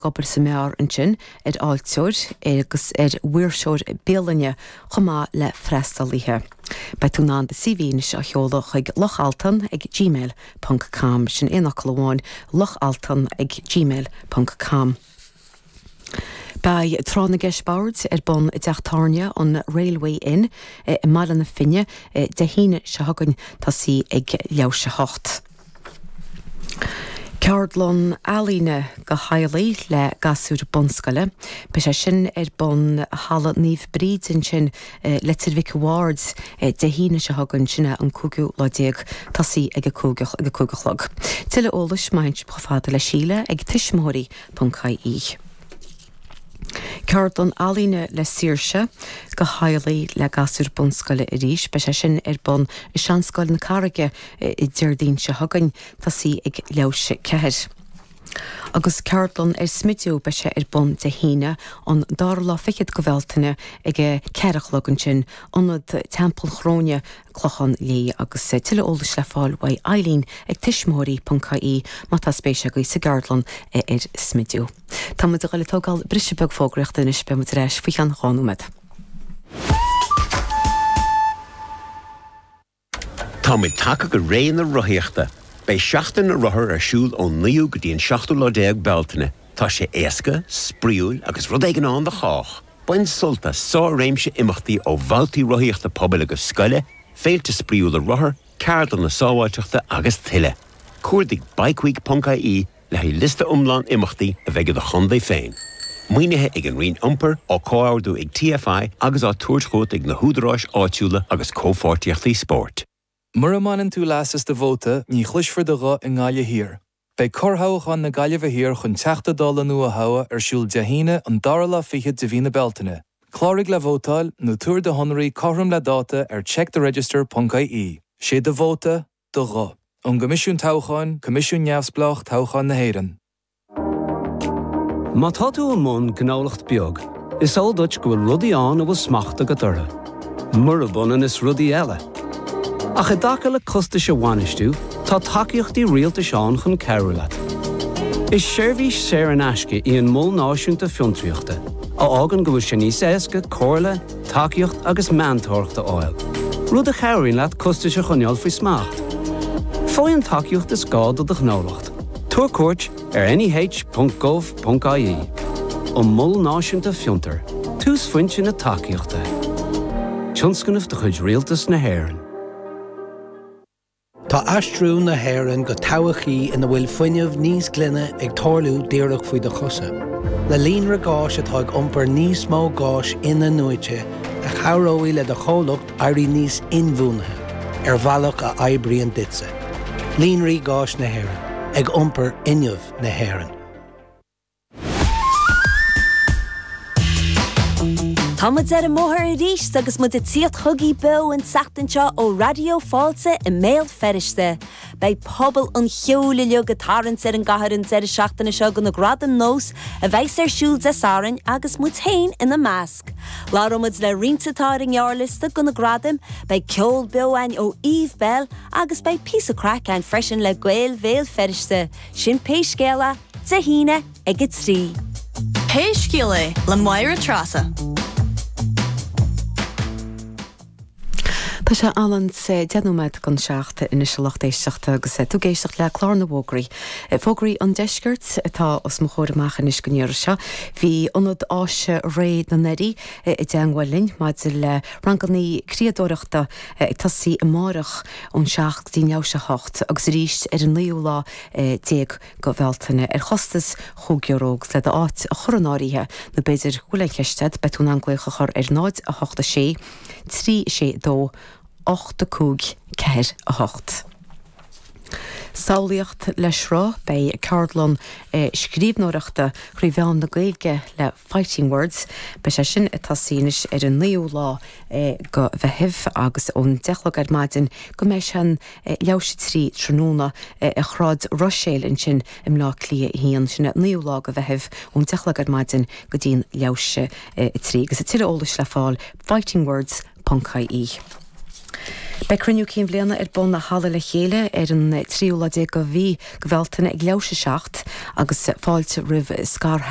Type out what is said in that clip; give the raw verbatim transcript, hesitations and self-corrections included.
obair sa mbeár ansin ar fháilteoir agus ar mhaoirseoir bialainne chomh maith le freastalaithe. Beidh tú in ann do CV anois a sheoladh chuig Loch Altan ag gmail ponc com sin aon fhocal amháin Loch Altan ag gmail ponc com. Beidh Tráth na gCeist Boird ar bun i dteach tábhairne an Railway Inn i mBaile na Finne Dé hAoine seo chugainn tosaí ag leathuair théis a hocht. Ceardlann ealaíne do theaghlaigh le gasúir bunscoile. Beidh sé sin ar bun Halla Naomh Bríd ansin Leitir Mhic an Bhaird Dé hAoine seo chugainn sin é an cúigiú lá déag tosaí ag a cúig ag a cúig a chlog. Tuilleadh eolais má théann sibh chomh fada le Síle ag tuismitheoirí ponc ie. Ceardlann ealaíne le Saoirse do theaghlaigh le gasúir bunscoile arís, beidh sé sin ar bun i Seanscoil na Carraige i Déardaoin seo chugainn tosaí ag leathuair théis a ceathair. Agus ceardlann ar smidiú beidh sé ar bun Dé hAoine an dara lá fichead de Bhealtaine ag a ceathair a chlog ansin, Ionad Teampall Chróine Clochán Léith agus tuilleadh eolais le fáil uaidh Eileen ag tuismitheoirí ponc ie má tá spéis agaibh sa gceardlann ar smidiú. Tá muid ag dul ag tógáil briseadh beag fógraíochta anois beidh muid ar ais faoi cheann dhá nóiméad. Táimid tagtha go ré na rothaíochta. Beidh seachtain na rothar ar siúl ón naoú go dtí an seachtú lá déag Bealtaine. Tá sé éasca, spraíúil agus rud éigin ann do chách. Bain sult as sár-réimse imeachtaí ó bhabhtaí rothaíochta pobail agus scoile, féilte spraíúla rothar, ceardlanna sábháilteachta agus tuilleadh. Cuardaigh bikeweek.ie le haghaidh liosta iomlán imeachtaí a bheidh i do chontae féin. Maoinithe ag an Roinn Iompair á comhordú ag TFI agus á tabhairt chugat ag na húdaráis áitiúla agus comhpháirtíochtaí spóirt. Mura mbaineann tú leas as do vóta, ní chloisfear do ghuth i nGaillimh Thiar. Beidh corrthoghchán na Gaillimhe Thiar chun Teachta Dála nua a thoghadh ar siúl Dé hAoine an dara lá fichead de mhí na Bealtaine. Cláraigh le vótáil nó tabhair do shonraí cothrom le dáta ar checktheregister.ie. Sé do vóta, do ghuth. Ón gCoimisiún Toghcháin, Coimisiún Neamhspleách Toghcháin na hÉireann. Má tá tú i mbun gnólacht beag, is eol duit go bhfuil rudaí ann a bhfuil smacht agat orthu. Murab ionann is rudaí eile. Ach i dtaca le costais a bhainistiú, tá tacaíochtaí rialtais ann chun cabhrú leat. Is seirbhís saor in aisce í an Mol Náisiúnta Fiontraíochta, a fhágann go bhfuil sé níos éasca comhairle, tacaíocht agus meantóireacht a fháil, rud a chabhraíonn leat costais a choinneáil faoi smacht. Faigh an tacaíocht is gá do do ghnólacht. Tabhair cuairt ar neh.gov.ie. An Mol Náisiúnta Fiontar, túsphointe na tacaíochta. Tionscnamh de chuid Rialtas na hÉireann. Tá aistriú na hÉireann go todhchaí ina bhfuil fuinneamh níos glaine ag tarlú díreach faoi do chosa. Le líonra gáis atá ag iompar níos mó gáis in-athnuaite a chabhróidh le do chomhlacht éirí níos inbhuanaithe ar bhealach a oibríonn duitse. Líonraí gáis na hÉireann, ag iompar fhuinneamh na hÉireann. Tá muid ar an mbóthar arís agus muid ag tíocht chugaibh beo an tseachtain seo ó Raidió Fáilte i mBéal Feirste. Beidh pobal an cheoil uilig ag tarraingt ar an gcathair an deireadh seachtaine seo do na Gradaim Nós a bheidh ar siúl Dé Sathairn agus muid féin ina measc. Labhróidh muid le roinnt atá ar an ngearrliosta do na gradaim, beidh ceol beo againn ó Eve Belle agus beidh píosa craic againn freisin le Gaeil Bhéal Feirste. Sin Pé Scéal É, Dé hAoine ag a trí. Pé Scéal É le Máire Treasa. Tá sé anonn deich nóiméad don seacht anois a lucht éisteachta agus tú ag éisteacht le clár na bhfógraí. Fógraí an deiscirt atá os mo chomhair amach anois don iarraidh seo. Bhí Ionad Áise Réidh na nDoirí i dteagmháil linn maidir le ranganna criadóireachta ag tosaí amárach ón seacht go dtí leathuair théis a hocht agus arís ar an naoú lá déag de Bhealtaine ar chostas chúig euro agus le d'áit a chur in áirithe nó b'fhéidir go bhfuil aon cheist agat beidh tú in ann glaoch a chur ar náid a hocht a sé trí sé dó ocht a cúig ceathair a hocht. Samhlaíocht le Sruth, beidh ceardlann scríbhneoireachta thrí mheán na Gaeilge le Fighting Words. Beidh sé sin ag tosaí anois ar an naoú lá de Mheitheamh agus ón deich a chlog ar maidin go mbeidh sé an leathuair théis a trí tráthnóna i Sráid Ruiséil ansin i mBleá Cliath a haon. Sin an naoú lá de Mheitheamh ón deich a chlog ar maidin go dtí an leathuair théis a trí. Agus tuilleadh eolais le fáil fightingwords ponc ie. Beidh cruinniú cinn bhliana ar bun i Halla Le Chéile ar an tríú lá déag de mhí Bealtaine ag leathuair tar éis a seacht agus fáilte roimh scarshealbhóirí